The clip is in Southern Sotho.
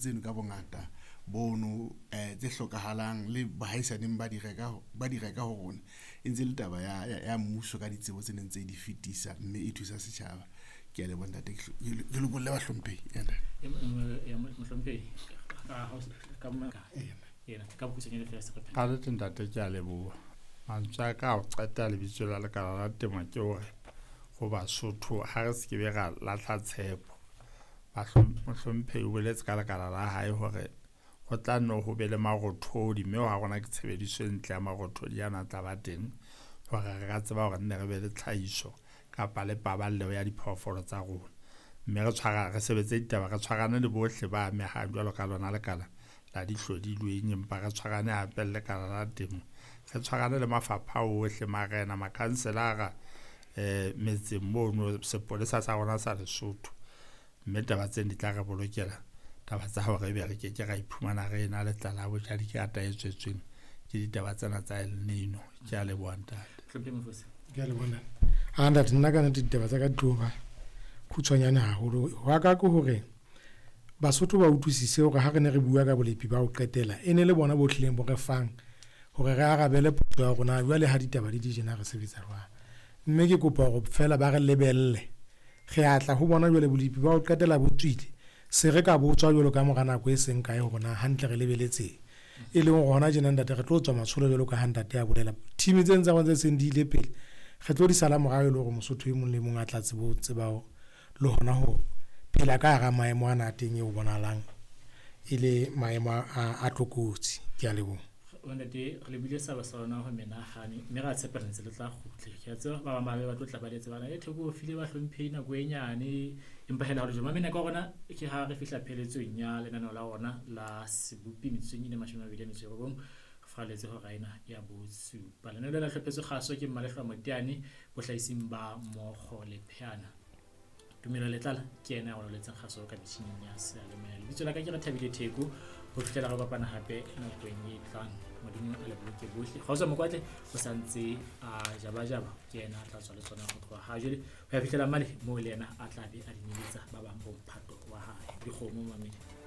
Tseno ka bongata bono tse hlokahalang le bahaisaneng ba di reka, ba di reka ho rona. E ntse e le taba ya mmuso ka ditsebo tse neng tse di fetisa mme e thusa setjhaba. Ke a leboha ntate, ke lokolle bahlomphehi. Eya ntate. Mohlomphehi, ka bokgutshwanyane feela se re Ka nnete ntate ke a leboha. Mantswe a ka a ho qeta lebitso la lekala la temo ke hore ho Basotho ha re se ke be ra lahla tshepo. Mohlomphehi o boletse ka lekala la hae hore ho tla nne ho be le marothodi, mme wa rona ke tshebediso e ntle ya marothodi ana a tla ba teng hore re ka tseba hore nne re be le tlhahiso kapa le paballeho ya diphoofolo tsa rona. Mme re tshwara re sebetse ditaba re tshwarane le bohle ba amehang jwalo ka lona lekala la dihlodilweng, empa re tshwarane hape le lekala la temo, re tshwarane le mafapha ohle, marena, makhanselara metseng mono, sepolesa sa rona sa Lesotho. Mme taba tseno di tla re bolokela taba tsa hore ebe re keke ra iphumana re ena le tlala ya bojadikata e tswetsweng ke ditaba tsena tsa El Nino. Ke a leboha ntate. Hlomphehi Mofosi. Ke a leboha ntate. Ha ntate, nna ka nnete ditaba tsa ka di tlo ba khutshwanyane haholo. Hwa ka ke hore Basotho ba utlwisise hore ha re ne re bua ka bolepi ba ho qetela, e ne le bona bo tlileng bo re fang hore re arabele potso ya rona jwale ha ditaba di di jena re sebetsa jwang. Mme ke kopa hore feela ba re lebelle. Re a tla ho bona jwale bolepi ba ho qetela bo tswile. Se re ka botswa jwalo ka mora nako e seng kae hore na hantle re lebeletseng. E leng hore hona tjena ntate re tlo tswa matsholo jwalo ka ha ntate a bolela. Team tseno tsa rona tse seng di ile pele, re tlo di sala morao e le hore Mosotho e mong le mong a tla tsebe ho tseba le hona ho phela ka hara maemo ana a teng eo bonahalang e le maemo a tlokotsi. Ke a leboha. Ntate, re lebile saba sa rona ho menahane mme ra tshepa ntse le tla kgutle. Ke a tseba ba bang ba be ba tlo tla ba letse bana e Theko o file bahlomphehi nako e nyane, empa hela ho le jwalo. Mamena ka rona ke ha re fihla pheletsong ya lenaneo la rona la sebopi metsotsong e 29 re faralletse hora ena ya bosupa. Lenaneo lena le hlophetswe kgaso ke Mmalehlwa Moteane bohlahising ba Mokgo le Pheana. Tumelo Letlala ke yena ya roletseng kgaso ka metjhining ya seyalemoya. Lebitso la ka ke Rethabile Theko, ho fihlela re kopana hape nakong e tlang. Modimo a le boloke bohle. Kgotso Mokwatle o sa ntse a jabajaba, ke yena a tla tswa le tsona ho tloha ha jwale ho ya fihlela mane moo le yena a tla be a di neletsa ba bang bo mphato wa hae. Dikgomo mamedi.